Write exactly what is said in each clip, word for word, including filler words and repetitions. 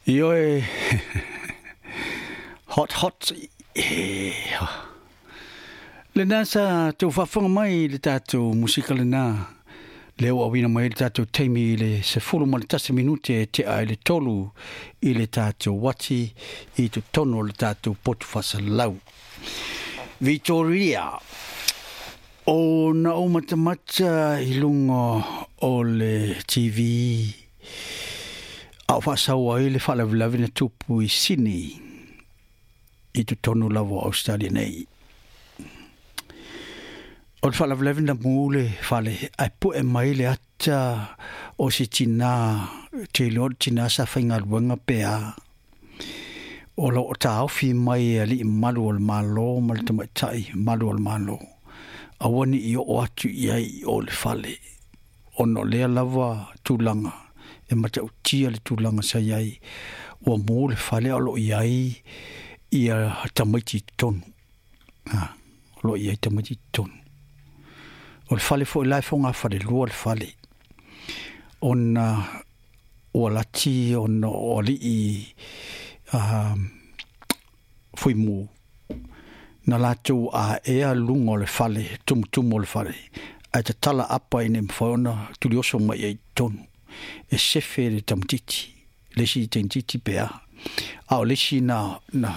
Ioe, hot hot. Lena sa tau faafofoga mai le tatou musika lena. Lea ua auina mai le tatou taimi i le sefulu ma le tasi minute e tea i le tolu i le tatou uati i totonu o le tatou potu faasalau. Victoria, o na ou matamata i luga o le T V a o faasau ai le faalavelave na tupu i Sydney i totonu lava o Australia nei. O le faalavelave na mu le fale ae pue mai le ata o se tinā te iloa le tinā sa faigaluega pe a. O lo o taofi mai e alii malu o le Malo ma le tamaitai malu o le Malo. Aua ni i oo atu i ai i o le fale. Ona o lea lava tulaga e matautia le tulaga sa i ai. Ua mu le fale o lo o i ai ia tamaiti i totonu. Ha, o lo o i ai tamaiti i totonu. O le fale foi la e fogafale lua le fale. Ona ua lati ona o alii uh, fuimu na latou aea luga o le fale, tumutumu o le fale. Ae tatala apa ina mafai ona tulioso mai ai i totonu. E sefe le tamatiti, le isi tamaititi pe a. A o le isi na, na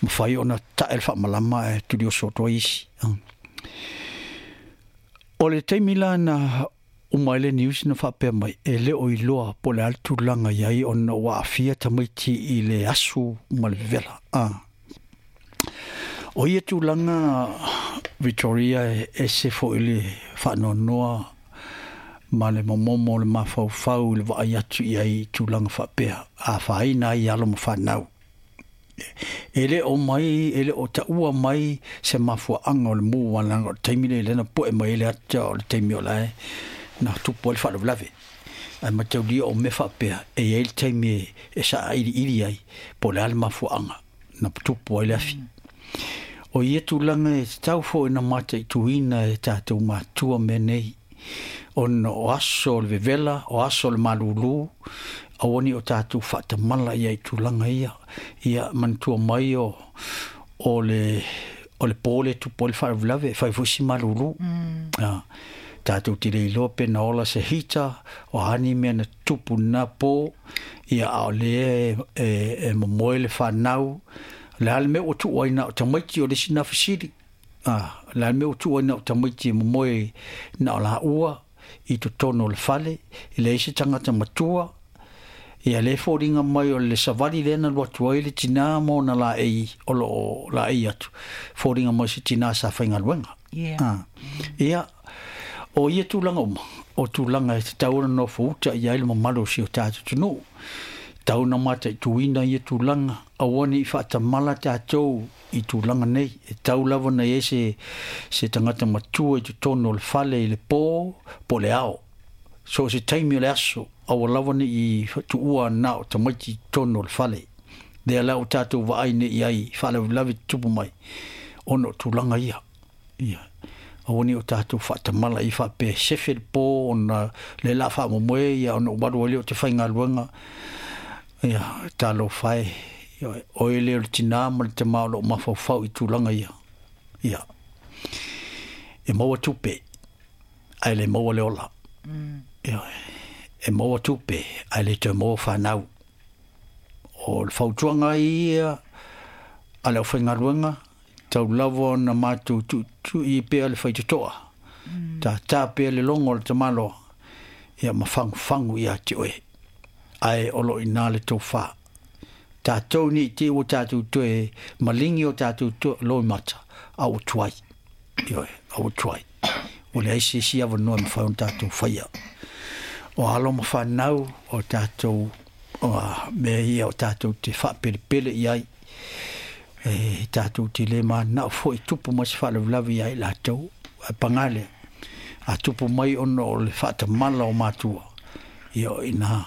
mafai ona tae le faamalama ae tulioso atu ai isi. O le taimi la na uma ai le news na faapea mai, e le o iloa po o le a le tulaga i ai ona ua aafia tamaiti i le asu ma le vevela. Ah. O ia tulaga Victoria e ese foi le faanoanoa ma le momomo o le mafaufau i le vaai atu i ai i tulaga faapea afaina ai alo ma fanau. E le o mai, e le o taua mai se mafuaaga o le mu walaga o le taimi le lena poe mai le ata o le taimi o lae na tupu ai le faalavelave. Ae mataulia o mea faapea e i ai le taimi e, e saailiili ai po o le a le mafuaaga na tupu ai le afi. O ia tulaga e tatau foi na mataituina e tatou matua mea nei. Ona o aso o le vevela, o aso o le malūlū, aua ni o tatou faatamala ia i tulaga ia. Ia manatua mai o, o le, o le po le tupu ai le faalavelave, e fai foi si malūlū. Mm. Ah, tatou te le iloa pe na ola se hita, o a ni mea na tupu na po, ia a o lea e, e, e momoe le whanau. Le a le mea ua tuu ai na o tamaiti o le isi na fesili. Ah, le a le mea ua tuu ai na o tamaiti e momoe na o la ua i totonu o le fale, i le isi tagata matua. Ia le foliga mai o le savali lea na alu atu ai le tinā ma ona laei o lo o laei atu. Foliga mai se tinā sa faigaluega. Yeah. Ah. Ia, o ia tulaga uma, o tulaga e tatau ona nofo uta i ai le mamalu o si o tatou atunuu. Tau na mataituina ia tulaga, aua ne i faatamala tatou i tulaga nei. E tau lava na i ai se, se tagata matua i totonu o le fale i le po, po le ao. So se taimi o le aso, aua lava ne i tuua na o tamaiti i totonu o le fale. Lea la o tatou vaai nei i ai, faalavelave tutupu mai, ona o tulaga ia. Ia. Aua ne i o tatou faatamala i faapea sefe le po, ona le la faamomoe ia, ona ualu ai lea o te faigaluega. Ia, talofa e, ia, oe lea o le tinā ma le tamā o loo mafaufau i tulaga ia. Ia. E maua tupe, ae le maua le ola. Mm. Ia, e maua tupe, ae le toe maua whanau. O le fautuaga ia a le aufaigaluega, tau lava ona matou tuitui pea le faitotoa. Mm. Tātā pea le logo o le tamaloa, ia ma fagufagu ia te oe. Ae o lo ina le tofā. Tātou ni te ua tātou toe malingi o tātou toe loi mata, a ua tuai. Ioe, a ua tuai. O le aisi isi awanoa mawhai o tātou whaia. O alo ma whanau o tātou, o mea ia o tātou te whapelepele i ai. E tātou te le mana o foi tupu mai se faalavelave i ai latou. A pangale, a tupu mai ona o le whaatamala o mātua. Ia o ina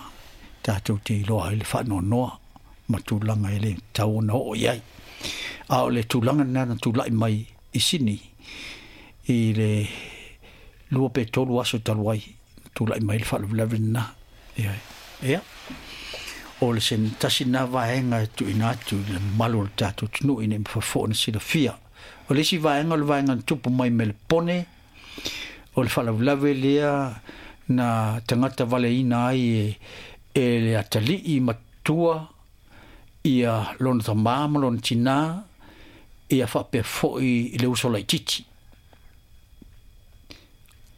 tātou te iloa ai le whaanoanoa ma tulaga e le tau ona oo i ai. A o le tulaga nā na tulai mai i Sydney i le lua pe tolu aso talu ai, tulai mai le faalavelave lena. Ia, ia. O le se tasi na vaega e tuuina atu i le mamalu o le tatou atunuu ina ia mafai foi ona silafia. O le isi vaega o le vaega na tupu mai me le pone, o le faalavelave lea na tagata valeina ai e, e le atalii matua ia lona tamā ma lona tinā, ia faapea foi i le uso laitiiti.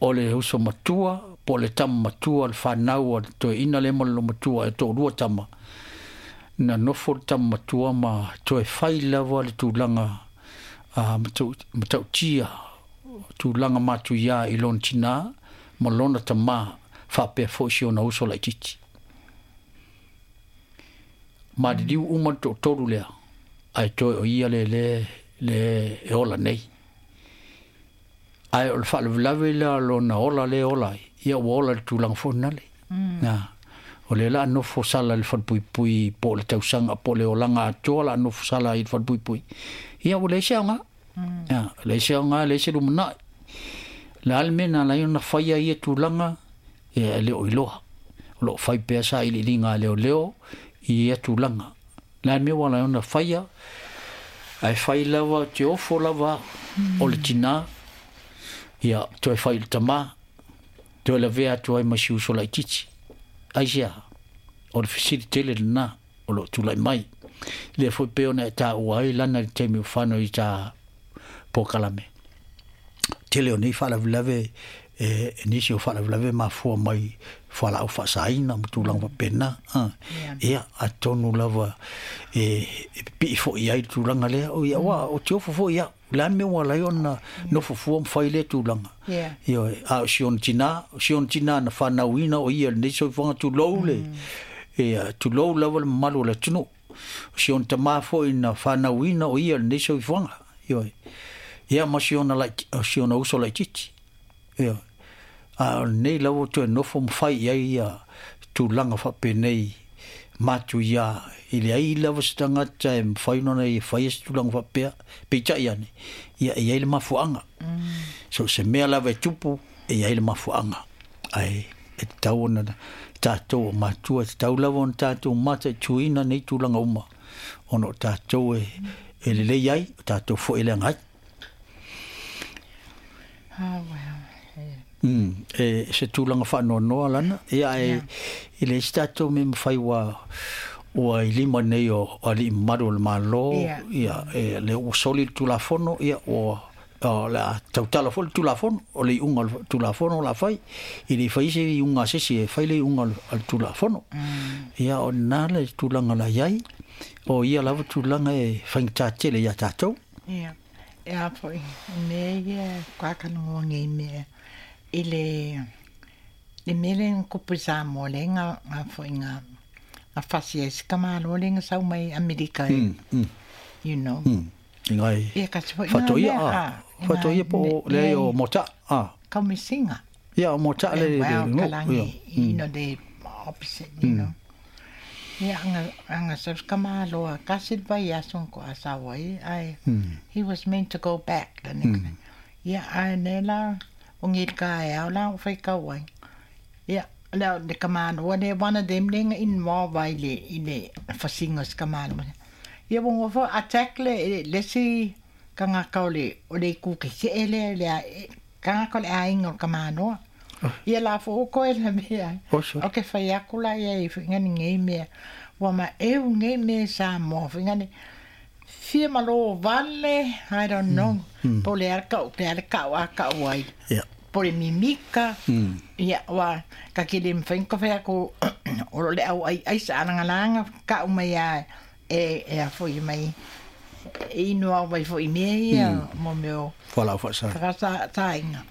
O le uso matua, po o le tama matua, le fanau a le toeaina lea ma le matua e toalua tama. Na nofo le tama matua ma toe fai lava le tulaga uh, matautia, tulaga matuia i lona tinā ma lona tamā faapea foi si ona uso laitiiti. Maliliu uma le toatolu lea, ae toe o ia le le le e ola nei. Ae o le faalavelave lea lona ola le ola ai, ia ua ola le tulaga foi nale. Na, o le la nofo sala le falepuipui po o le tausaga po o le olaga atoa la nofo sala i le falepuipui. Ia ua leai se aoga. Ia, leai se aoga, leai se lumanai. Le a le mea na ala ai ona faia ia tulaga, ia e le o iloa. O lo o fai pea sailiiliga a leoleo i ia tulaga. Le a le mea ua ala ai ona faia, ae fai lava te ofo lava o le tinā, ia toe fai i le tamā, toe lavea atu ai ma si uso laitiiti. Aisea, o le fesili tele lenā o lo o tulai mai. Lea foi pei ona e taua ai lana i le taimi o fanau i tā polokalame. Tele o nei faalavelave e, e nisi o faalavelave mafua mai fualaau faasaina ma tulaga faapena. Ah. Ia, atonu lava e, e pipii foi ai le tulaga lea. O ia, ua, o te ofo foi ia. Le a le mea ua ala ai ona nofo fua ma fai lea tulaga. Yeah. Ioe, a o si ona tinā, o si ona tinā na fanauina o ia lenei soifuaga tulou le, ia, tulou lava le mamalu o le atunuu. O si ona tamā foi na fanauina o ia lenei soifuaga. Ioe. Ia ma si ona laiti, o si ona uso laitiiti. Ioe. A o lenei lava toe nofo ma fai i ai ia tulaga faapenei matuia i leai lava se tagata e mafai ona ia faia se tulaga faapea, peitai ane, ia e i ai le mafuaaga. So se mea lava e tupu, e i ai le mafuaaga. Ae e tatau ona tatou o matua, e tatau lava ona tatou mataituina nei tulaga uma, ona o tatou e, e lelei ai, o tatou foi e leaga ai. Ah, well. Yeah. Mm, e se tulaga faanoanoa lana, ia e Yeah. i le isi tatou mea mafai ua ua i lima nei o alii mamalu o le Malo, Yeah. ia e le ua soli le Tulafono, ia ua o le a tautala foi le Tulafono, o le iuga o le Tulafono o le a fai, i le i fai se iuga a se isi e fai le iuga a le Tulafono. Ia o lena le tulaga la i ai, o ia lava tulaga e faigata tele iā tatou. Ia, e a foi, mea ia kakanoa ngei mea i le le mea lea na tupu i Samoa lea nga nga foi nga nga fasi ai se tamāloa lea na sau mai Amerika e, Mm, mm, you know. mm. I ngai Ia kasi foi nga faatoia mea a, a, i faatoia ngai po me o leai mea o mota a. kaumisinga. Ia o mota le Eh, le well, le ngo, ia. kalangi, you know, the opposite, you know. Ia, anga, anga sa kamaloa, kasi vai aso ko asawa ai, ai, he was meant to go back the next day. Ia, ai ne la, o ngir ka e au la, o whai kau ai. Ia, la, le kamaloa, le one of them le nga involve ai le, i le whasinga se kamaloa. Ia, wongo fo attack le, le si kangaka o le, o le kuke se e le, le, a- kangaka o le ainga o kamaloa. Ia la fo o koe la mea. O sorry. O ke whai aku la ia i whingani ngei mea. Ua ma eu ngei mea sa moa whingani. Fia malo vale, I don't know. Po le ara kau, te ara kau a kau ai. Ia. Po le mimika. Ia, wa, ka kile mwhain ko whai aku, o le au ai ai sa ananga kau mai a, e, e a fo i mai. E inu au mai fo i mea ia, mo meo. Fualaau faasa. Whakasa tainga.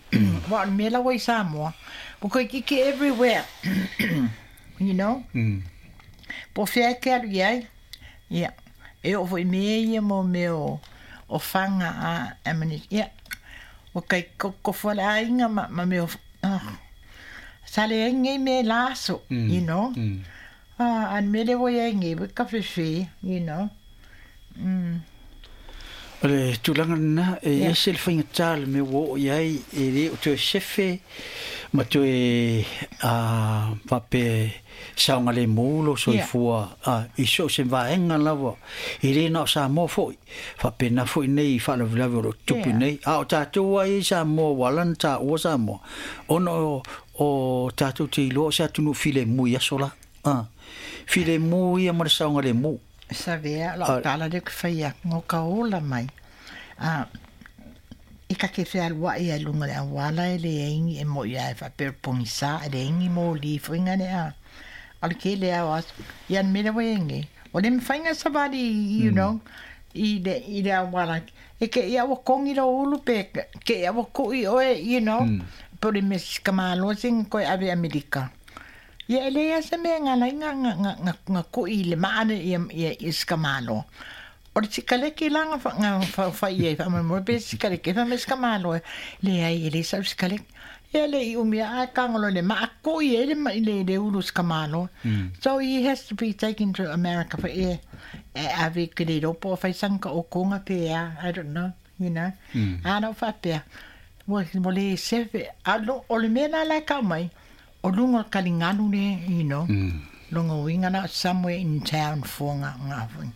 Wa me la wai Samoa. Po koe kiki everywhere. You know? Mm. Po whia ke alu iai. Ia. E o foi mea ia mo me o, o whanga a amani. Ia. O kai koko whala ainga ma, ma me o... Ah. Sale ai ngei me laso, you know? Mm. Ah, an me le wai ai ngei, ka whiwhi, you know? Mm. O le tulaga lena e ese le faigata le mea ua oo i ai e lē o toe sefe ma toe a faapea saogalemu lou soifua a i so o se vaega lava e lē na o Samoa foʻi faapena foʻi nei i faalavelave o loo tutupu nei a o tatou ai i Samoa ua ala ona taua Samoa ona o o tatou te iloa o se atunuu filemu i aso la a filemu ia ma le saogalemu. Savea lau tala lea ke fai atu ngo ka ola mai a i ka ke fealuaʻi ai luga le auala e leai ni e moʻi ae faapea o le pogisā e leai ni moli foʻiga le a o le kele ao aso ia le mea lea ua iai nei o le mafaiga savali you know i le i le auala e ke ia ua kogi lou ulu pe ke ia ua kuʻi oe you know po o le mea sikamāloa sega koe ave Amerika. Ia e leai lava se mea e galai ga ga ga ga kuʻi i le maa le ia ia ia sikamāloa. O le sikaleki la ga fa ga faufai ai faamoemoe pe sikaleki e fai mai sikamāloa leai e lē sau sikaleki. Ia le i umi ae kagolo i le maa kuʻi ai le le le ulu sikamāloa. So he has to be taken to America for e e ave ke le iloa po o faisaga ka okoga pe a I don't know, you know. A na ou faapea ua ua lē sefe a o o le mea la la e kau mai o luga o le kaligalu le you know loga uiga na somewhere in town fuaga ga foi.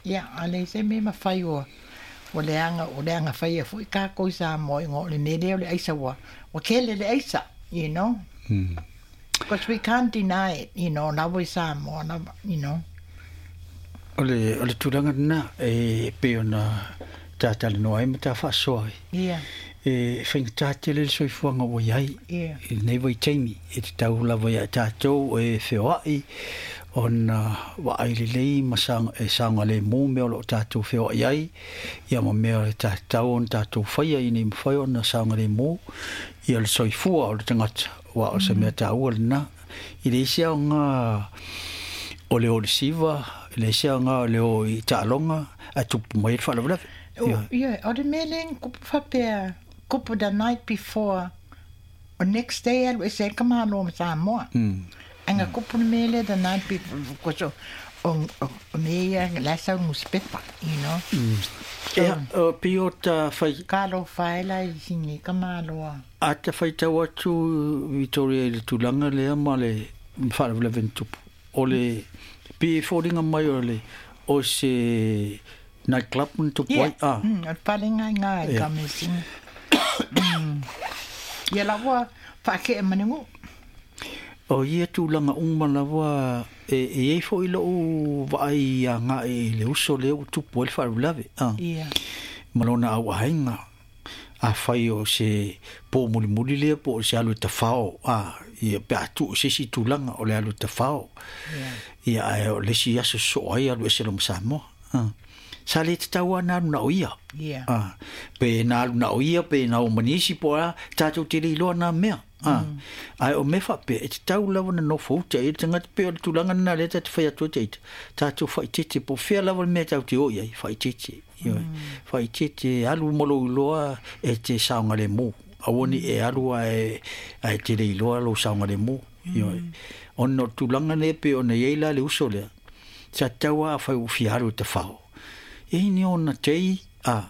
Ia a leai se mea mafai ua ua leaga o leaga faia foʻi kākou i Samoa igoa o le mea lea o le aisa ua ua kele le aisa you know because we can't deny it you know la ua i Samoa lava you know. O le o le tulaga lena e pei ona tatalanoa ai ma ta faasoa ai. Ia. E faigata tele le soifuaga ua iai Ia. i lenei vaitaimi e tatau lava iā tatou e feoaʻi ona vaai lelei ma saga e saogalemu mea o loo tatou feoaʻi ai ia ma mea e tatau ona tatou faia ina ia mafai ona saogalemu ia le soifua o le tagata ua o se mea taua lena i le isi aoga o le o le siva i le isi aoga o le o i taaloga ae tupu mai ai le faalavelave. O ia o le mea lea na kupu faapea kupu the night before o next day alu ese ai ka malo ma Samoa. Ae na kupu le mea lea the night before because o o o mea ia la e sau nusipepa you know. So Ia o pei o ta fai kalo faila i sini ka malo a. A ta faitau atu Victoria i le tulaga lea ma le faalavelave na tupu o le pei e foliga mai o le o se nightclub na tupu Ia ai a. mm o le falega i gā i Ia ka mea sini. Ia la ua faakea ma le guʻu. O ia tulaga uma lava e e iai foʻi loʻu vaai agaʻi i le uso lea ua tupu ai le faalavelave a Ia. ma lona auaiga afai o se po mulimuli lea po o se alu e tafao a ia pe a tuu i se isi tulaga o le alu e tafao Ia. ia ae o le isi aso sosoo ai alu ese lo ma Samoa a sa lē tatau lava na alu na o ia Ia. a pe na alu na o ia pe na o ma nisi po o le a tatou te le iloa na mea a ae o mea faapea e tatau lava ona nofo uta i ai le tagata pei o le tulaga lena lea tatou te fai atu ai taita tatou faaitete po o fea lava le mea tatou te oo i ai faaitete ioe faaitete alu ma lou iloa e te saogalemu aua ne i e alu ae ae te le iloa lou saogalemu ioe ona o le tulaga lea pei ona i ai la le uso lea sa tatau lava afai ua fia alu e tafao e i ni ona tei a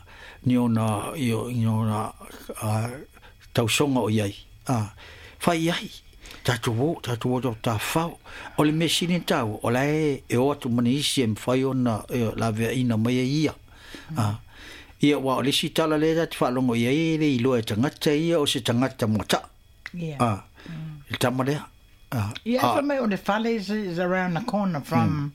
ni ona io ni ona a tausoga o i ai a fai ai tatou o tatou o tafao o le mea sili ona taua o la e e o atu ma nisi e mafai ona e laveaina mai ai ia a ia aua o le isi tala lea tatou te faalogo i ai e le iloa e tagata ia o se tagata muataa Ia. a le tama lea a Ia e a fai mai o le fale is is around the corner from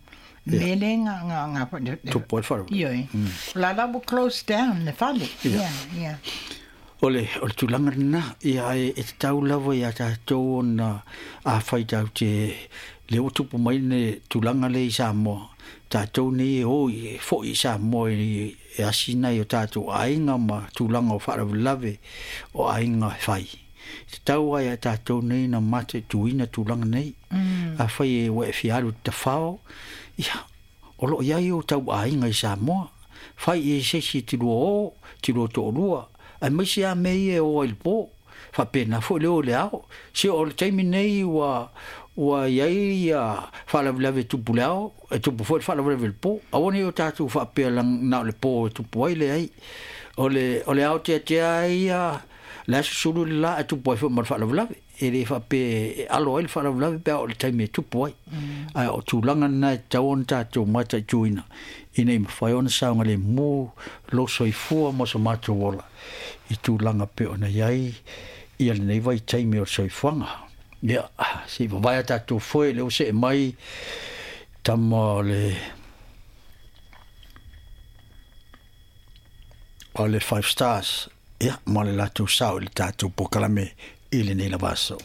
Ia. mele ga ga ga le le Tupu ai le faalavelave. Ioe. O la la ua close down le fale. Ia. Ia, ia. O le o le tulaga lena ia e e tatau lava iā tatou ona afai tatou te lea ua tupu mai le tulaga lea i Samoa tatou nei e o i e foʻi i Samoa i e asi nai o tatou aiga ma tulaga o faalavelave o aiga e fai e tatau lava iā tatou nei na mataituina tulaga nei afai e ua e fia alu i le tafao ia o loo iai o tau aiga i Samoa fai i ai se isi e te lua o te lua toalua aemaise lava mea ia e o ai i le po faapena foʻi le o i le ao se o le taimi nei ua Ua iai ia faalavelave e tupu le ao, e tupu foi le faalavelave i le po. Aua ne i o tatou faapea na o le po e tupu ai, leai. O le, o le ao teatea ai ia le aso sulu le la e tupu ai foi ma le faalavelave. E le faapea e alo ai le faalavelave pe a oo i le taimi e tupu ai. Ae o tulaga lena e tatau ona tatou mataituina ina ia mafai ona saogalemu lou soifua ma so matou ola i tulaga pei ona i ai ia lenei vaitaimi o le soifuaga. Ia, se i vavae a tatou foe lea ua see mai tama o le o le Five Stars, ia, ma le latou sao i le tatou polokalame i lenei lava aso.